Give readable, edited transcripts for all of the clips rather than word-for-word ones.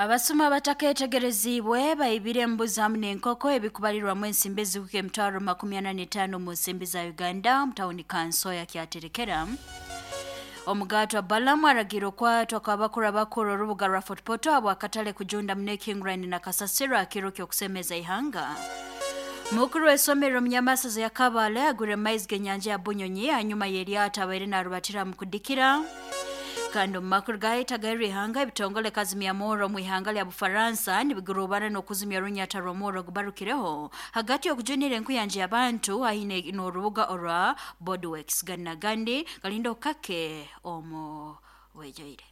Abasuma abataketegereziibwe baibire embuzi hamu n'enkoko ebikubalirwamu ensimbi ezikuka 45,000 mu nsimbi za Uganda mu tawuni kanso ya Kyaterekera. Omugaatwa Balamu aragira okwatwa kw'abakuru abakuru orubuga rwa Fort Portal habw'akatale kujunda muno ekihinguraine na kasasiro akiro ky'okusemeza ihanga. Mukuru w'esomero Munyamasaza ya Kabale agwire mu maizi g'enyanja ya Bunyonyi hanyuma y'eryato abaire narubatira mu kudikira. Kandi omu makuru gahita ihanga, ebitongole kazimya murro omu ihanga lya Bufaransa nibigurubana n'okuzimya orunyata rw'omurro gubarukireho hagati y'okujunira enkuyanja y'abantu haihi n'orubuga orwa Bordeaux. Gani nagandi galinda okake omu wejaire.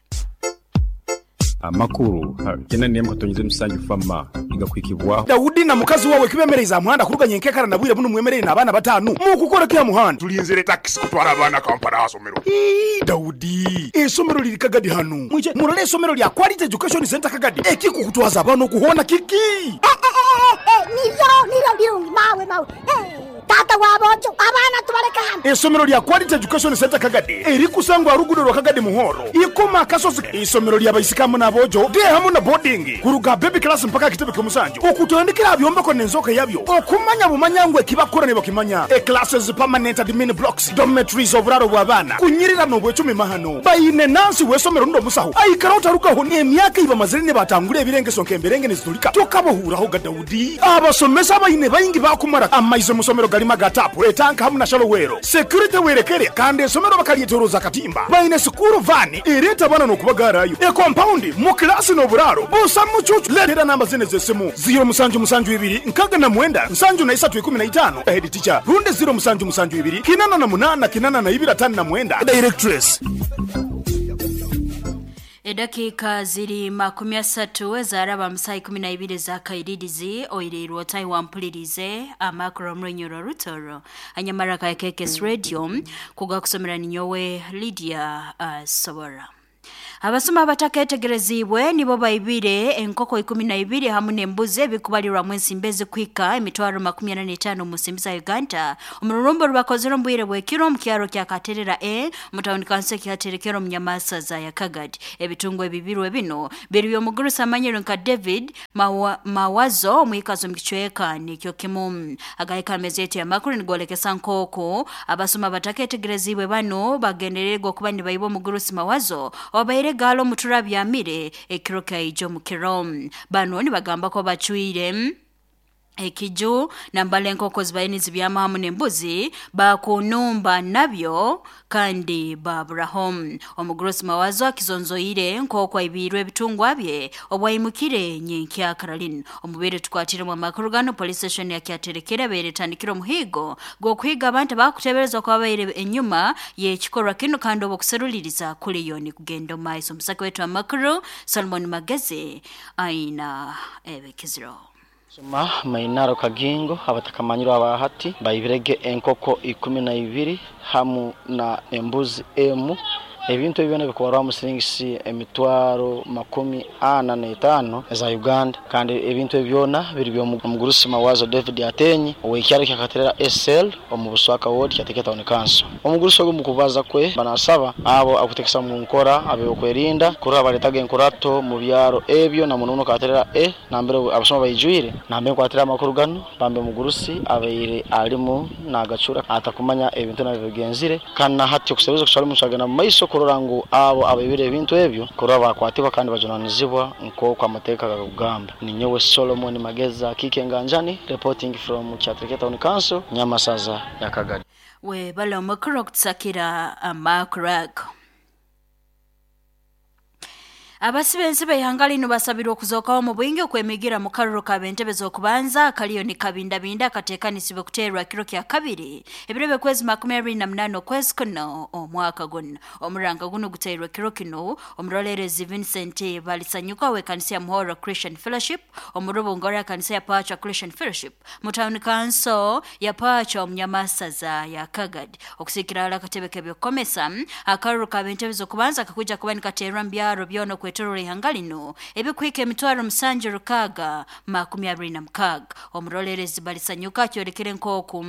Amakuru 97 fama igakwikibwaho. Daudi na mukazi wawe kibemereza muhanda kuruganya enkekara na bwire buno mwemerere n'abaana batanu mukukora kya muhanda. Tulinzire taxi kutwara abaana Kampala asomero. Daudi, esomero liri Kagadi hano. Mwije murole esomero lya Quality Education Center Kagadi. Ekikukutwaza abaana okuhona kiki? Niryo lirungi mawe mawe. Tata wabojo abaana tubaleka hano. Esomero lya Quality Education Center Kagadi erikusangwa rugudo rwa Kagadi Muhoro. Ikoma kasozi isomero lya baisikamu n'abojo de hamu na boarding kuruga baby class mpaka kitebe ky'omusanju. Okutandikira byombeko n'enzoka yabyo. Okumanya bumanyangwe kibakora ne bakimanya. E classes permanent admin blocks, dormitories oburaro bw'abaana. Kunyirira n'obwecumi mahano. Bayine nansi w'esomero ndo musaho. Aikara otarukaho n'emyaka iba mazire ne batangura ebirengeso nk'emberenge nizitulika. Tokabohuraho ga Daudi. Abasomesa bayine bayingi bakumara amaize musomero galima gatapu etanka hamu na shalowero. Security werekere kandi esomero bakalietoroza katimba. Bayine sukuru vani ereta bana n'okubagarayo. E compound mu klasi n'oburaro busa mucucu. Leetera namba zine z'essimu 072 69 73 15 head teacher runde 072 88 82 59 directress. Edakika ziri 30 zaraba msai 12 za kairidizi oirirwa tai wampulirize amakuru mrenyoro rutoro anyamara ka KKS Radio kuga kusomera ninyowe Lydia Sobora. Abasoma abataketegerezibwe nibo baibire enkoko 12 hamu n'embuzi ebikubalirwa mu ensimbi ezikwika 45,000 mu nsimbi za Uganda. Omururumbo rubakozere omu bwire bw'ekiro mu kyaro kya Katerera A mu tawuni kanso Kyaterekera omu Nyamasaza ya Kagadi. Ebitungo ebibirwe bino biri by'omugurusi amanyirwe nka David Mawazo omwikazi omu kicweka nikyo kimu. Agahika amezi yetu y'amakuru nigolekesa nkoko abasoma abataketegerezibwe bano bagendererwa kuba nibaiba omugurusi Mawazo obaire galo muturabyamire ekiro kaijo mukiro. Bano nibagamba ko bacwire ekiju nambale enkoko zibaine zibyama hamu n'embuzi bakunumba nabyo kandi baburaho. Omugurusi Mawazo akizonzoire nkoko aibirwe ebitungwa bye obwaimukire nyenkya Caroline. Omubere tukwatire mu makuru gano police station ya Kyaterekera beretandikira omuhigo gw'okuhiga abantu bakuteberezwa kwabaire enyuma y'ekikorwa kino kandi obokuseruliriza kuliyo ni kugenda maiso. Omusaka wetu amakuru Solomon Magezi aina ebekiziro. Soma mainaro kagingo abatakamanyirwa abahati baibirege enkoko 12 hamu na embuzi emu. Ebintu ebyo bikubarwa mu silingisi 45,000 za Uganda. Kandi ebintu ebyona biri byo omugurusi Mawazo David Atenyi owekyaro kya Katerera SL omu Buswaka ward kyateketa town council. Omugurusi ogo mukubaza kwe banasaba abo akutekesa mu nkora abe okwerinda kuraba baletaga enkurato mu byaro ebyo na munono Katerera E nambere abasoma bayijwire nambe kwatira amakuru gano bambe mugurusi abeire alimu nagacura atakumanya ebintu nabyo bigenzire kana hati okuseruza kusali musagana mu maiso kurora ngu abo abaibire ebintu ebyo kurora bakwatibwa kandi bajunanizibwa nko kwa mateka gakugamba. Ninyowe Solomon Mageza Kike Nganjani reporting from Kyaterekera Town Council Nyamasaza ya Kagadi. We bala makuru kutsakira amakuru. Abasibenzi b'ihanga lino basabirwa okuzokawo mu bwingi okwemigira mu karuro k'abentebe z'okubanza kaliyo ni kabindabinda akateekanisibwe kuteerwa kiro kya kabiri ebiro by'okwezi 28 okwezi kuno omwaka guno. Omuranga guno guteerwa kiro kino omurolerezi Vincent Balisanyuka w'ekanisa ya Muhoro Christian Fellowship omurubungo ya kanisa ya Pacha Christian Fellowship mu town council ya Pacha omunyamasaza ya Kagadi. Okusikira ala akatebe k'ebyokukomesa akaruro k'abentebe z'okubanza kakuja kuba nikateerwa mu byaro byona kwetorora ihanga lino ebikwika 76,626. Omurolerezi Balisanyuka akyolekere nk'oku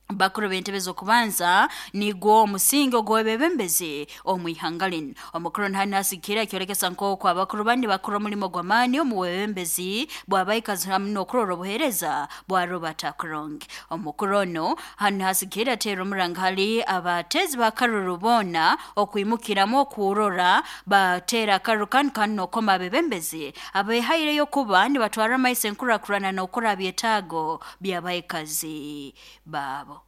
Bakuru b'entebe z'okubanza nigwo omusingi ogw'ebebembezi omu ihanga linu. Omukuru nahanasikira ekyolekesa nk'oku abakuru bandi bakora omulimo gw'amaani omu bwebembezi bw'abaikazi hamu n'okurora obuheereza bwa Robert Akuronge. Omukuru ono hanasikira ateera omuranga hali abateezi b'akaruru boona okwimukiramu okurora bateera akaruru kanu kandi n'okoma abebembezi abehaireyo kuba nibatwara amaiso enkurakurana n'okura byetaago by'abaikazi baabo.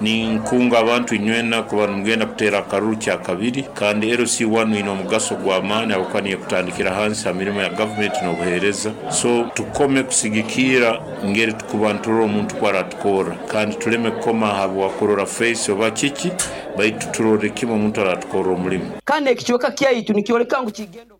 Ninkunga abantu inywena kuba nimugenda kuteera akaruru kya kabiri, kandi LC1 ine omugaso gw'amaani habwokuba niyo kutandikira hansi ha mirimo ya gavumenti n'obuheereza. So tukome kusigikira ngeri tukuba nturora omuntu kwaratukora, kandi tuleme kukoma habwa kurora face oba kiki, baitu turore kimu omuntu aratukorra omulimu. Kandi ekicweka kyaitu nikyoleka ngu kigenda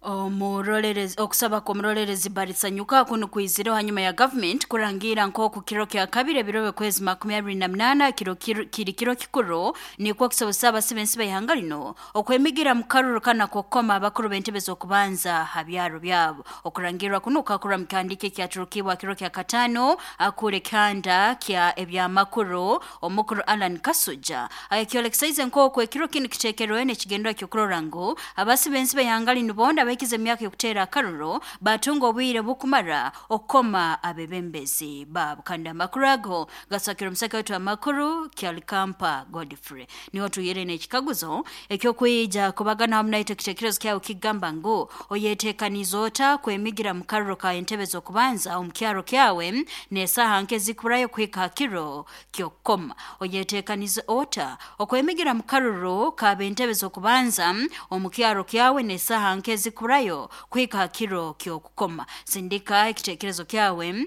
Omurorerezi okusaba kw'omurorerezi Barisanyuka kuno kwizire hanyuma ya government kurangira nk'oku kiro kya kabiri ebiro kwezi 28 kiro kiri kiro kikuru nikwo kusobozesa abasibe b'ihanga lino okwemigira mu karuru kana kokoma abakuru b'entebe z'okubanza ha byaro byabo. Okurangirwa kuno kakura mu kandike kyaturukibwa kiro kya katano akure kanda kya ebyamakuru omukuru Alan Kasuja akyolekesaize nk'oku ekiro kino kiteekerwe n'ekigendwa ky'okurora ngu abasibe b'ihanga lino bonda abahikize emyaka y'okuteera akaruru batunga obwire bukumara okukoma abebembezi baabo. Kandi amakuru ago gasakira omusaka wetu amakuru Kyalikampa Godfrey. Niho tuyire n'ekikaguzo ekyokwija kubagana hamu naitwe ekitekerezo kyawe kigamba ngu oyeteekaniza ota kwemigira mu karuru ka entebe z'okubanza omu kyaro kyawe n'esaaha nke zikurayo kuhika ha kiro ky'okukoma. Oyeteekaniza ota okwemigira mu karuru ka b'entebe z'okubanza omu kyaro kyawe n'esaaha nke zikurayo kuhika ha kiro ky'okukoma. Sindika ekitekerezo kyawe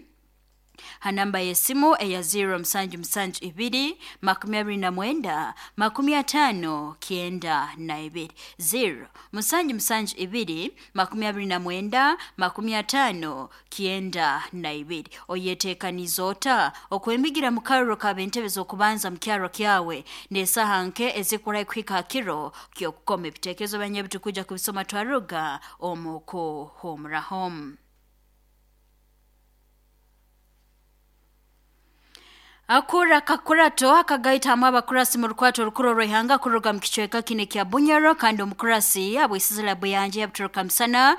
ha namba y'esimu eya 0772 29 59 92 0 772 29 59 92. Oyeteekaniza ota okwemigira mu karuru ka b'entebe z'okubanza mu kyaro kyawe n'esaaha nke ezikurayo kuhika ha kiro ky'okukoma. Ebitekerezo byanyu ebitukuja kubisoma twaruga omu kuhumuraho. Akura kakurato akagaita hamwe abakurasi mu rukwato rukuru rw'ihanga kuruga mu kicweka kine kya Bunyoro, kandi omukurasi abwisizira buyanje yabuturuka misana